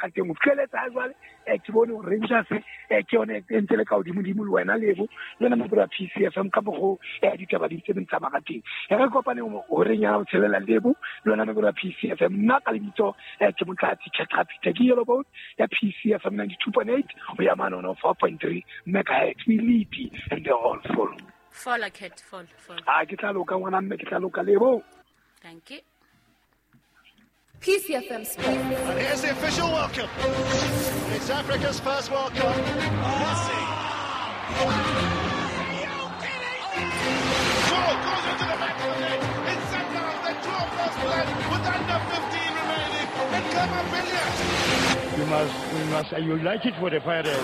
Ka teng ho fitlheletsa ha jwale ke bone hore Rangers ke yone e ntse le ka hodimodimo le wena Lebo le wena mabura PCFM ka mokgo ditaba di ntse di tsamaya ka teng. Re kopane horeng ya botshelela Lebo le wena mabura PCFM. Nna ka lebitso ke Motlatsi Khetrapita ke Yellow Bone ya PCFM 92.8 ho ya mane 4.3 megahertz. We lead and they all follow. Follow cat follow follow. Ah ke tla loka ngwana mme ke tla loka Lebo. Thank you. PCFM Sports. And here's the official welcome. It's Africa's first World Cup. Messi. Goal goes into the back of the net. It's Sundowns that draw first blood with under 15 remaining. And Khama Billiat. We must unite it for the fire.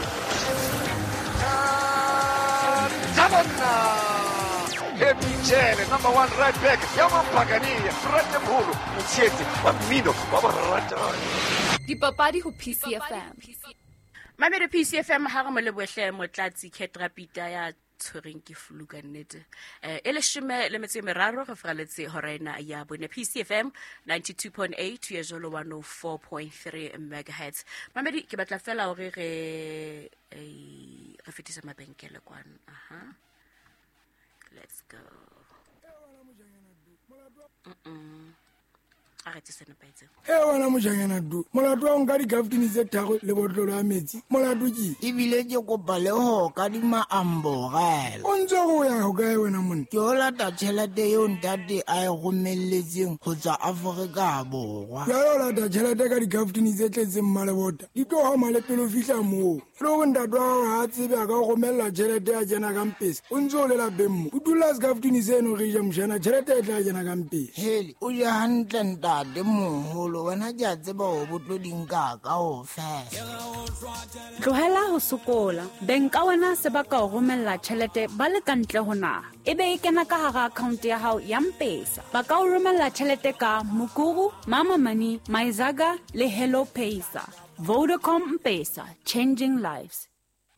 Happy Jele, number one right back, ya Mapagania, Frate Mholo, Motsheetsi, wa mmino, wa boratani. Dipapadi ho PCFM. Mamedi PCFM ha re mo lebohle Motlatsi Khetrapita ya tshwereng ke flu ka nnete. E 13 re fraletse hora ena ya bone. PCFM 92.8 ya jolo 104.3 megahertz. Mamedi ke batla fela hore re fetise mabenkele kwano. Aha. Let's go. A re tse nepahetseng. E wena mojanyana du molato wa nka dikaftini tse tharo le botlolo ya metsi molato ke ebile ke kopa le ho kadima amborela. O ntse go ya ho kae wena monna? Ke o lata tjhelete eo ntate a e romelletseng ho tswa Afrika Borwa. Jwale o lata tjhelete ka dikaftini tse tletseng mmalebota di tlo hama le pele o fihla moo. E le hore ntate wa hao ha a tsebe a ka o romella tjhelete ya kena ka mpesa o ntse o le lapeng mo. O dula sekaftini seno re ja mojana tjhelete e tla kena ka mpesa. Hele o je hantle ntate moholo wena ke a tseba hore bo tlo di nka kaofela. Tlohela ho sokola. Beng ka wena se ba ka o romella tjhelete ba le ka ntle ho naha. Ebe e kena ka hara account ya hao ya M-Pesa. Ba ka o romella tjhelete ka Mukuru, Mama Money, Myzaga le Hello Pesa. Vodacom M-Pesa, changing lives.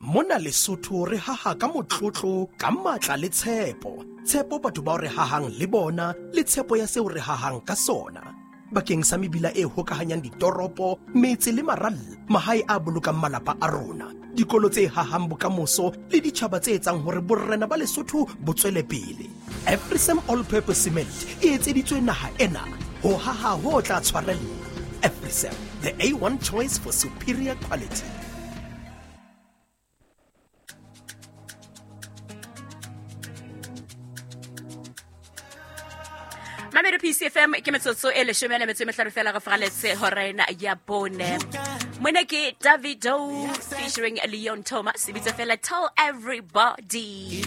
Mona Lesotho re haha ka motlotlo ka matla le tshepo. Tshepo batho bao re hahang le bona le tshepo ya seo re hahang ka sona. Bakeng sa mebila e hokahanyang ditoropo, metse le maralla, mahae a bolokang malapa a rona, dikolo tse hahang bokamoso le ditjhaba tse etsang hore borena ba Lesotho bo tswele pele. Afrisem All Purpose Cement e etseditswe naha ena ho haha ho tla tshwarella. Afrisem, the A1 choice for superior quality. Mamedi PCFM ke metsotso e 15 fela re fraletse hora ena ya bone. Mona ke Davido featuring Leon Thomas, e bitsa fela Tell Everybody.